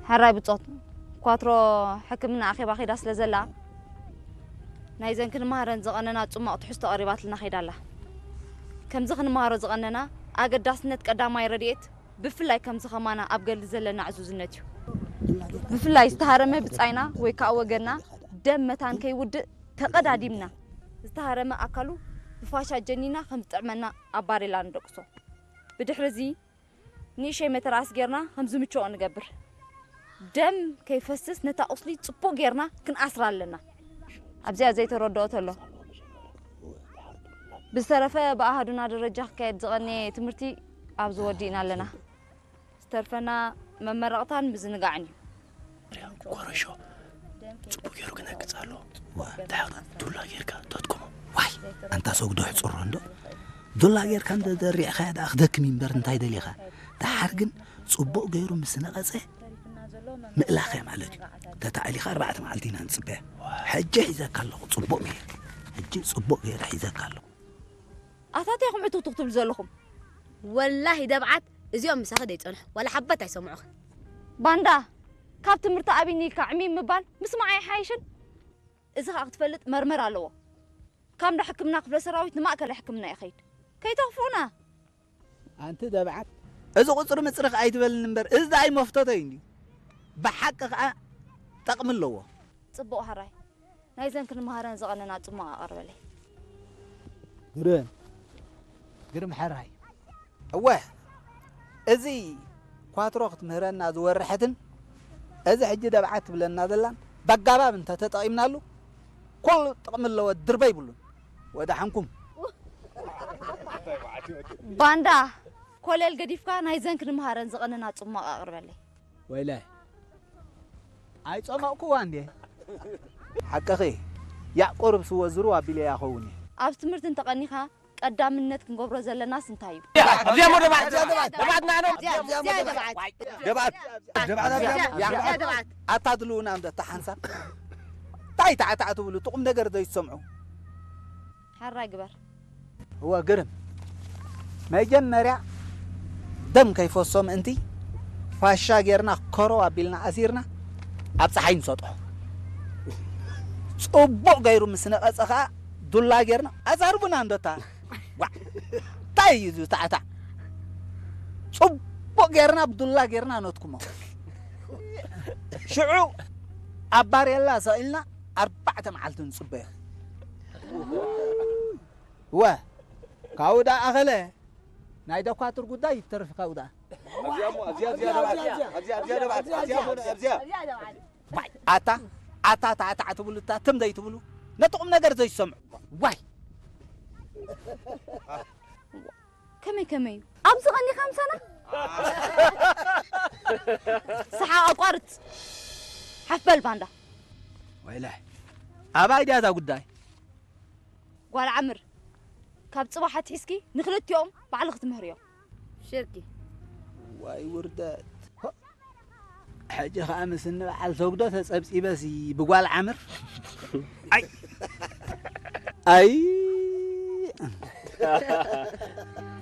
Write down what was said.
ሕራይ ብጾት ኳትሮ ሕክምና ኣኼባ ኸይዳ ስለ ዘላ፣ ናይዘን ክንመሃረን ዝቐነና ጽማቕ ትሕዝቶ ቀሪባትልና ኸይዳ ኣላ። ከምዚ ክንመሃሮ ዝቐነና ኣገዳስነት ቀዳማይ ረድኤት፣ ብፍላይ ከምዚ ኸማና ኣብ ገድሊ ዘለና ዕዙዝነት እዩ። ብፍላይ ዝተሃረመ ብጻይና ወይ ከኣ ወገንና ደም መታን ከይውድእ ተቐዳዲምና፣ ዝተሃረመ ኣካሉ ብፋሻ ጀኒና ከም ዝጥዕመና ኣብ ባሬላ ንደቅሶ። ብድሕሪ እዚ ንእሽተይ መተርኣስ ጌርና ከም ዝምችኦ ንገብር። ደም ከይፈስስ ነታ ቁስሊ ጽቡቕ ጌርና ክንኣስራ ኣለና። ኣብዚኣ ዘይተረድኦ ተሎ። ብዝተረፈ ብኣሃዱና ደረጃ ክካየድ ዝቐነየ ትምህርቲ ኣብዚ ወዲእና ኣለና። ዝተርፈና መመረቕታን ምዝንጋዕን እዩ። ኮረሾ ጽቡቅ ገይሩ ክነግጽ ኣለዎ። ድሓር ዱላ ጌርካ ተትኩሞ። ዋይ ኣንታ ሰጉዶ ሕጹሮ እንዶ ዱላ ጌርካ እንደ ዘሪዕኻያ ደኣ ክደክም እምበር እንታይ ደሊኻ? ደሓር ግን ጽቡቅ ገይሩ ምስ ነቐጸ ምእላኸ ማለት እዩ። ተታዕሊኻ ኣርባዕተ መዓልቲ ኢና ንጽበያ። ሕጂ ሒዘካ ኣለኹ ጽቡቅ ገይረ። ሕጂ ጽቡቅ ገይረ ሒዘካ ኣለኹ። ኣታ እንታይ ኢኹም ዕቱኽቱኽ ትብሉ ዘለኹም? ወላሂ ደብዓት እዚኦም ምሳኺ ደይጸንሑ ዋላ ሓበት ኣይሰምዑኽን። ባንዳ ካብ ትምህርቲ ኣብይኒ ኢልካ ዕሚም ምባል ምስማዕ ኣይሓይሽን? እዚ ኸኣ ክትፈልጥ መርመር ኣለዎ። ካብ እንዳ ሕክምና ክፍለ ሰራዊት ንማእከል ሕክምና ይኸይድ። ከይተኽፉና። ኣንቲ ደብዓት እዚ ቁፅሪ ምፅርኽ ኣይትበልኒ እምበር እዚ ደኣይ መፍተቶ እዩ እንድዩ። ብሓቂ ኸዓ ጠቕሚ ኣለዎ። ጽቡቕ ሕራይ ናይዘን ክንመሃረን ዝቐነና ጽማቕ ኣቕርበለይ። ግርም ግርም ሕራይ። እወ እዚ ኳትሮ ክትምህረና ዝወረሐትን እዚ ሕጂ ደብዓት ትብለና ዘላን በጋባብ እንተተጠቒምናሉ ኩሉ ጥቕሚ ኣለዎ ድርበ ይብሉን። ወዳሓንኩም። ባንዳ ኮለል ገዲፍካ ናይዘን ክንመሃረን ዝቐነና ጽማቕ ኣቕርበለይ። ወይለ ኣይጸመቕኩዋ እንዴ? ሓቅኺ ያዕቆብ ርብሲ ወዝሩ ኣቢለያ ኸውን እየ። ኣብ ትምህርቲ እንተቐኒኻ ቀዳምነት ክንገብሮ ዘለናስ እንታይ እዩ? ኣብዚኣ እሞ ደባት ደባት ደባት ናኖ ደባት ደባት ደባት ኣብዚኣ ደባት ኣታ ድልውና እንዶ እታ ሓንሳብ እንታይ ታዕታዕ ትብሉ ትቑም ነገር ዘይትሰምዑ። ሓራይ ግበር። እወ ግርም መጀመርያ ደም ከይፈሶ ምእንቲ ፋሻ ጌርና ኮረው ኣቢልና ኣሲርና ኣብ ፀሓይ ንሰጥሖ። ፅቡቕ ገይሩ ምስ ነቐፀ ከዓ ዱላ ጌርና ኣዛርቡና እንዶታ። ዋ እንታይ እዩ ዝታዕታዕ? ፅቡቕ ጌርና ብዱላ ጌርና ነትኩሞ። ሽዑ ኣብ ባሬላ ሰቒልና ኣርባዕተ መዓልቲ ንፅበዮ። እወ ካብኡ ደኣ ኣኸለ ናይ ደኳትር ጉዳይ ይተርፍ ካብኡ ደኣ። ኣታ ኣታ ታዕታዕ ትብሉ እታ ትም ዘይትብሉ ነቲ ቁም ነገር ዘይሰምዑ ዋይ። ከመይ ከመይ እዩ ኣብዚ ቀኒኻ ምሳና? ሰሓቕ ኣቋርጽ። ሓፍ በል ባንዳ። ወይለ ኣባይ ድያ እዛ ጉዳይ። ጓል ዓምር ካብ ጽባሕ ኣትሒዝኪ ንክልቲኦም ባዕልኺ ትምህርዮም። ሽርኪ ዋይ ውርደት። ሕጂ ኸኣ ምስ እንበዓል ሰጉዶ ተጸብጺበሲ ብጓል ዓምር ኣይ ኣይ